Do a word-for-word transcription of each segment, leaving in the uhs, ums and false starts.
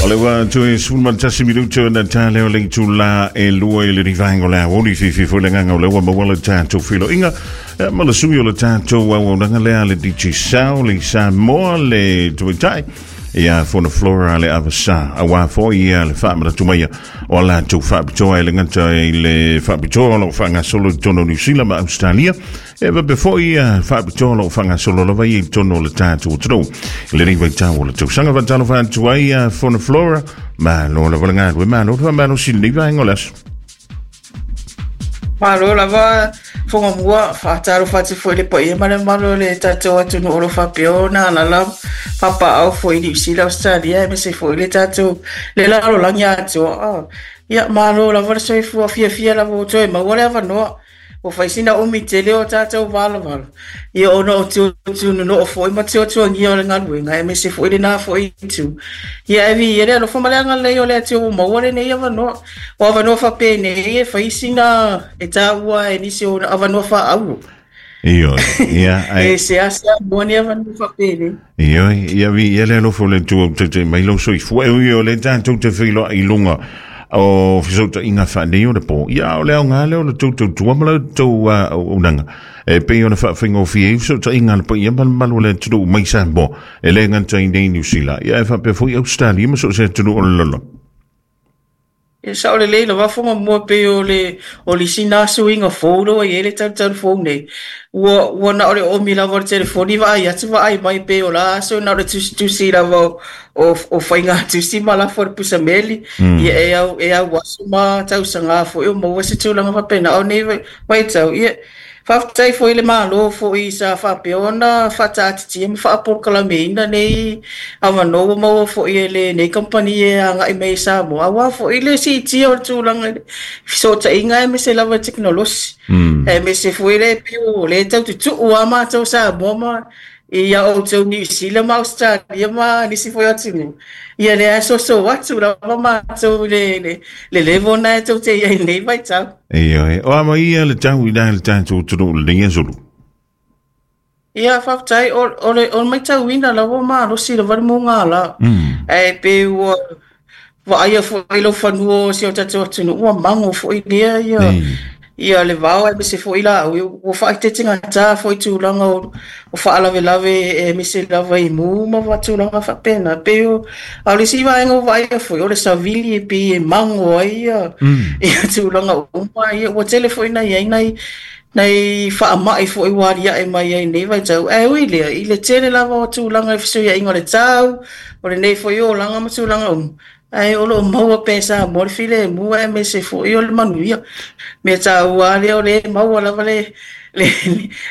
O le ua tui sefulu ma le tasi minuto na ta leo le itulā e lua i le rivaenga o le aoauli fiafia foi le agaga o lea ua maua le tatou feiloaiga ma le sui o le tatou auaunaga lea le Digicel le Samoa le tamaitai ia Fona Flora le Avasa auā foi ia le faamanatu maia o a latou faapitoa e le gata i le faapitoa o loo faagasolo i totonu o Niusila ma Australia e faapea foi ia faapitoa o loo faagasolo lava ia i totonu o le tatou atunuu i lenei vaitau o le tausaga. Faatalofa atu ai ia Fona Flora, malo lava le galue, malo le faamalosi i lenei vaega o le aso. Malo lava foga mua, faatalofa atu foi le paia ma le mamalu o le tatou atunuu o lo o faapea ona alaala papaaao foi i Niu Sila, Ausetalia aemaise foi le tatou le lalolagi atoa. Ia malo lava le soifua fiafia lava ua toe maua le avanoa. Ua fai sina umi tele o tatou valavala, ia ona o tuatuanunoo foi ma tuatuagia o le galuega aemaise foi lena foi itu. Ia e viia le alofa ma le agalelei o le Atua ua maua lenei avanoa. O avanoa faapenei e fai sina e taua e nisi o avanoa faaauro. Ioe, ia, E seasea maua ni avanoa faapenei. Ioe, ia viia le alofa o le Atua ua taitai mai lou soifua. E ui o lea tatou te feiloai i luga o fesootaiga faaneionapo. Ia, o le aoga lea o le tou tautua ma la outou auaunaga e pei ona faafaigofie ai fesootaiga a le paia ma le mamalu o le atunuu mai Samoa e le gata i nei Niu Sila, ia e faapea foi Australia ma so o se atunuu o le lalolagi. E sao lelei lava foga mua pei o le o le isi na suiga fou lea ua i ai le talutalu fou nei. Ua ua na o le oomi lava o le telefoni vaai atu vaai mai pei o la aso na o le tusitusi lava o o, o faiga tusi ma lafo i le pusameli. Ia e au e au aso ma tausaga foi o maua se tulaga faapena. O nei vaitau, ia faafetai foi i le Malo foi sa faapea ona faataatitia ma faapolokalameina nei avanoa ua maua foi e lenei kamupani e agai mai i Samoa, auā foi le siitia o le tulaga i le fesootaiga aemaise lava i le tekonolosi. Aemaise foi le pei o lea e tau tutuu lava matou Samoa ma ia outou Niu Sila ma Ausetalia ma nisi foi o atunuu. Ia lea e soso atu lava matou i le, le, le level na e tou te i ai nei vaitau. Ioe, o ama ia le tau i la le tatou atunuu lenei asulu. Ia, faafetai, o, o le, o le maitauina lava o malosi lava le mugala. Mm. Ae pei ua vaaia foi lau fanua o si o tatou atunuu ua mago foi lea ia Ei. ia le vao aemaise foi laau ua faaeteetegatā foi tulaga o, o faalavelave aemaise lava i mu ma tulaga faapena. Pei o a o le isi vaega ua vaaia foi o le savili e pei e mago ai ia, Mm. ia tulaga uma ia ua tele foi na iai nai nai faamai foi ua aliae mai ai nei vaitau. Ae ui lea i le tele lava o tulaga i fesuiaiga o le tau, o lenei foi olaga ma tulaga uma, ae o loo maua pea e Samoa le filemu aemaise foi o le manuia. Mea taua lea o le maua lava le le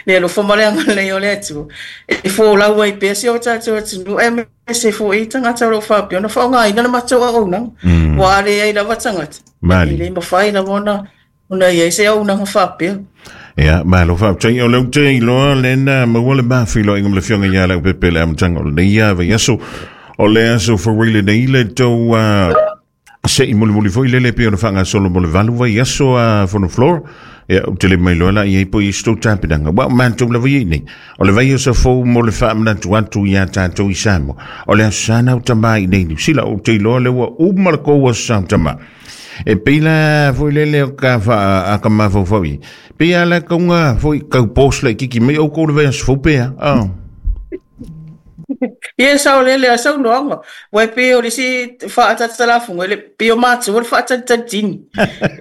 le alofa ma le agalelei o le Atua e folau ai pea si o tatou atunuu aemaise foi tagata o loo faapea ona faaaogaina le matou auaunaga. Mm. Ua a leai lava tagata e Mali. le mafai lava ona ona iai se auaunaga faapea. Ia, malo faafetai o lea ou te iloa lena maua le mafeiloaiga ma le afioga ia Leaupepe le amataga o lenei ia vaiaso. O le aso foi lenei le tou uh, se i mulimuli foi lele pei ona faagasolo mo le valu vaiaso a Fono Flora. Ia, ou te le mailoa la i ai po i se tou tapenaga. Ua o matou lava iai nei. O le vaiaso fou mo le faamanatu atu iā tatou i Samoa. O le aso Sa na o tamā i nei Niu Sila ou te iloa le ua uma le kou aso Sa o tamā. E pei la foi lele o ka fa a ka mafaufau i. Pei ala kaunga foi kau post le kiki mai o kou le vaiaso fou pea. Oh. Ia sao lele a saunoaga. Ua e pei o le isi faatatalafuga le pei o matou o le faatalitalitini.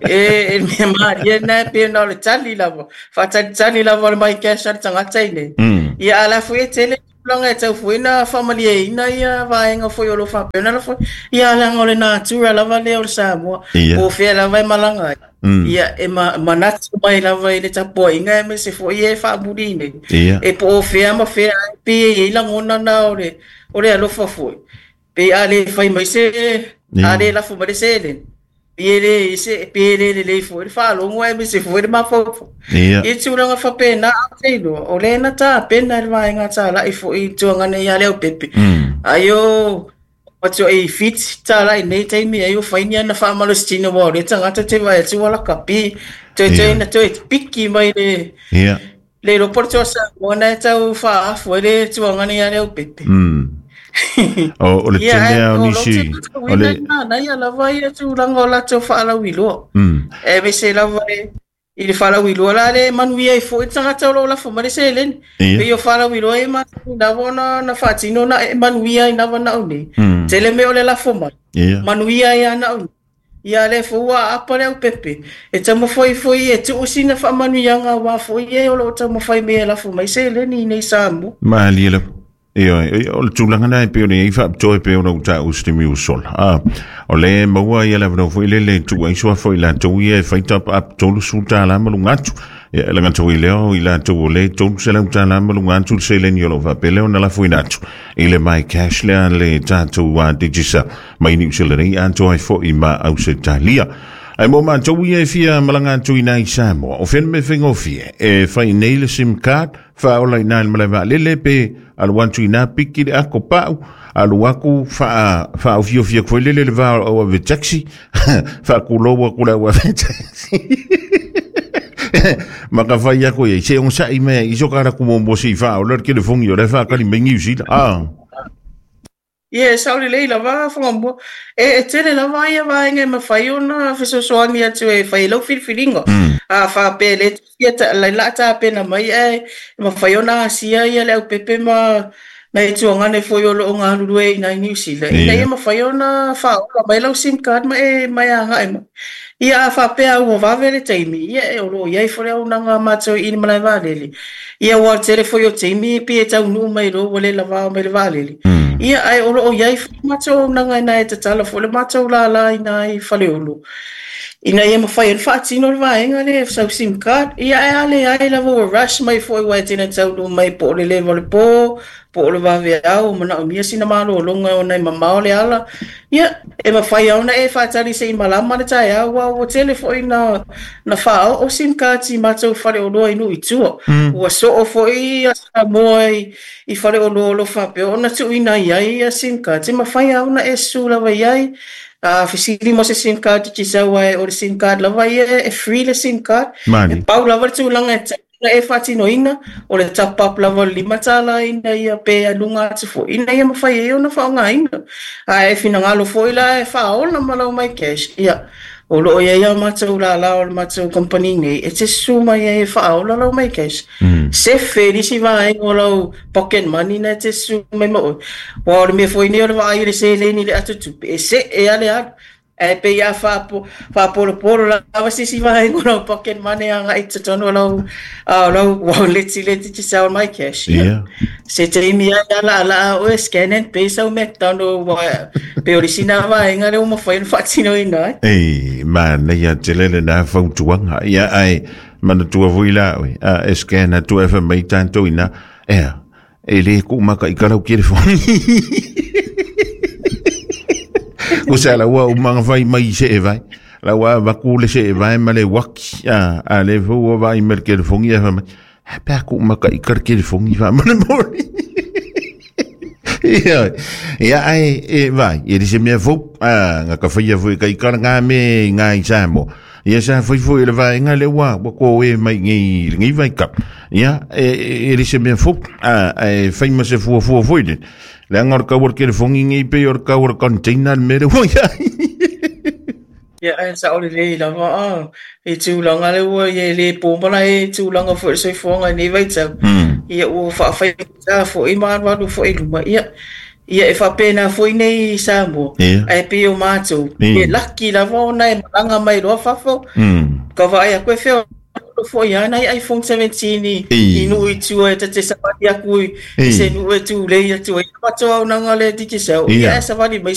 E e le mea malie lena e pei ona o le tali lava. Faatalitali lava o le mai cash a le tagata i nei. Mm. Ia a la foi e tele tulaga e tau foi na faamalieina ia vaega foi o lo o faapea ona lafo. Ia leaga o le natura lava lea o le Samoa. Ia. Po o fea lava e malaga ai. Mm. Ia e ma, manatu mai lava i le tapuaiga aemaise foi e faamuli nei. Ia. E po o fea ma fea ai pei e iai lagona na o le o le alofa foi. Pe a le fai mai se Ia. a le lafo mai le seleni. Pe e le se pe e le lelei foi le faalogo aemaise foi le mafaufau. Ia. I tulaga faapena a te iloa, o lea na tapena e le vaega talai foi i tuaga nei ia Leaupepe. Mm. Ai o atu i fiti talai nei taimi ai o fai ni ana faamalositino ua o le tagata te vaai atu ua lakapi. Toe toe Ia. na toe piki mai le Ia. le iloa po o le toa Samoa na e tau faaafu ai le tuaga nei ia Leaupepe. Mm. O o le Ia, tele ae lava o o lou nisi o tauina le lena ia lava ia tulaga o latou faalauiloa. mm E vese lava e i le faalauiloa la le manuia ai foi le tagata o loo lafo mai le seleni. Ia. Pei o faalauiloa e masani lava ona na faatino na e manuia ai lava na au nei. mm Tele mea o le lafo mai. Ia. Manuia ai lava na au nei. Ia le fou ua aapa le aupepe. E taumafai foi e tuu sina faamanuiaga aua foi e o loo taumafai mai e lafo mai seleni i nei Samoa. Malie lava. Ia, o le tulaga na e pei ona i ai faapitoa e pei ona ou taua i se taimi ua sola. Ah, o le maua ia le avanoa foi lele e tuu ai suafa i latou ia e fai top up tolu sefulu tala ma luga atu. Ia, e lagata i lea o i latou o le tolu selau tala ma luga atu le seleni o loo faapea lea ona lafoina atu i le My Cash lea le tatou uh, Digicel mai Niu Sila nei atoa ai foi ma Ausetalia. Ai mo matou ia e fia malaga atu i nai Samoa. O fea le mea faigofie e fai nei le SIM card, faaola i nai le malae vaalele pe alu atu i nā piki le ako pau, alu aku faa faaofiofia foi lele le va o ave taxi, faakulou aku le au ave taxi. Ma ka fai aku ia, se onosai mea i so kara ku mo se i faaola le telefoni o le faakali mai Niu Sila. Ah. Ia, e sao lelei lava Fagamua. E, e tele lava ia vaega e mafai ona fesoasoani atu e fai ai lau filifiliga. Mm. A faapea e le tusia ta, lai la tapena mai ae e mafai ona asia ia le aupepe ma nai tuagane foi o loo galulue i nai Niu Sila ina Ia. ia mafai ona faaola mai lau SIM card ma e ma e agai mai. Ia a faapea ua vave le taimi, ia e o loo i ai foi le auaunaga a matou i le malae vaalele. Ia ua tele foi o taimi pe e taunuu mai loa ua le lavao mai le vaalele. Mm. Ia ae o loo i ai foi matou auaunaga ina e tatala foi le matou lala i nai Faleolo. Ina ia mafai ona faatino le vaega lea sau SIM card. Ia ae a leai lava ua rush mai foi aua e tele ina taunuu mai po o le leva o le po, po o le vaveao, manaomia sina malologa ona e mamao le ala. Ia, e mafai lava ona e faatali se i malama le taeao aua ua tele foi na na faaoo SIM cards i matou faleoloa i nuu i tua. Mm. Ua soo foi ia Samoa i, i faleoloa o lo o faapea ona tuuina i ai ia SIM cards. E mafai lava ona e susu lava i ai. A fesili mo se SIM card Digicel aua o le SIM card lava ia e free le SIM card. E Malie. pau lava le tulaga e tatau ona e faatinoina o le top up lava o le lima tala ina ia pe luga atu foi ina ia mafai ai ona faaaogaina. A e finagalo foi la e faaola ma lau My Cash, ia o loo i ai a matou lala o le matou company nei e te susu mai ai e faaola lau My Cash. Mm. Sefe nisi vaega o lau pocket money na e te susu mai ma oe. Aua o le mea foi nei o le vaai i le seleni i le ato tupe, e see a le alu. Ae pei a faapo faapolopolo lava se isi vaega o lau pocket money agai i totonu o lau uh, lau wallet i le Digicel My Cash. Ia. Ia. Se taimi ai alaalaa oe scan and pay sau McDonald aua pe o le isi na vaega lea ua mafai ona faatinoina ai. E, manaia tele lena fautuaga. Ia, ae manatua foi la oe. A e scan atu e fai mai tatou ina. Ea, e le ku maka i kalau telefoni. Ko sa la ua umanga fai mai se e vai. La ua vaku le se e vai ma le waki. A, a le fu ua vai me le telefoni e fai mai. Ha pea ku maka i kar telefoni fa mana mori. Ia, ia ai e vai, e se mea fou, a nga ka whaia foi kai kara ngā me ngā i Samoa. Ia sa fai foi le vaega le ua, ua ko e mai ngai ngai vai kap. Ia, e e e se mea fou, a e fai ma se fua fua foi le. Le anga o le kau o le telefoni ngai pe o le kau o le container le mea le ua ia. Ia ae sao lelei lava a i tulaga le ua ia e le po mala e tulaga foi o le soifuaga i nei vaitau. Mm. Ia ua faafaigata foi ma alualu foi i luma. Ia, ia e faapena foi nei i Samoa. Ia. Ae pei o matou, e Ia. laki lava ona e malaga mai loa fafo. Mm. Ka vaai aku e feoloolo foi lava nai iPhone seventeen i, i E. nuu i tua e ta te savali aku i, i se E. nuu e tulei atu ai. Matou auaunaga le Digicel, ia Ia. ae savali mai se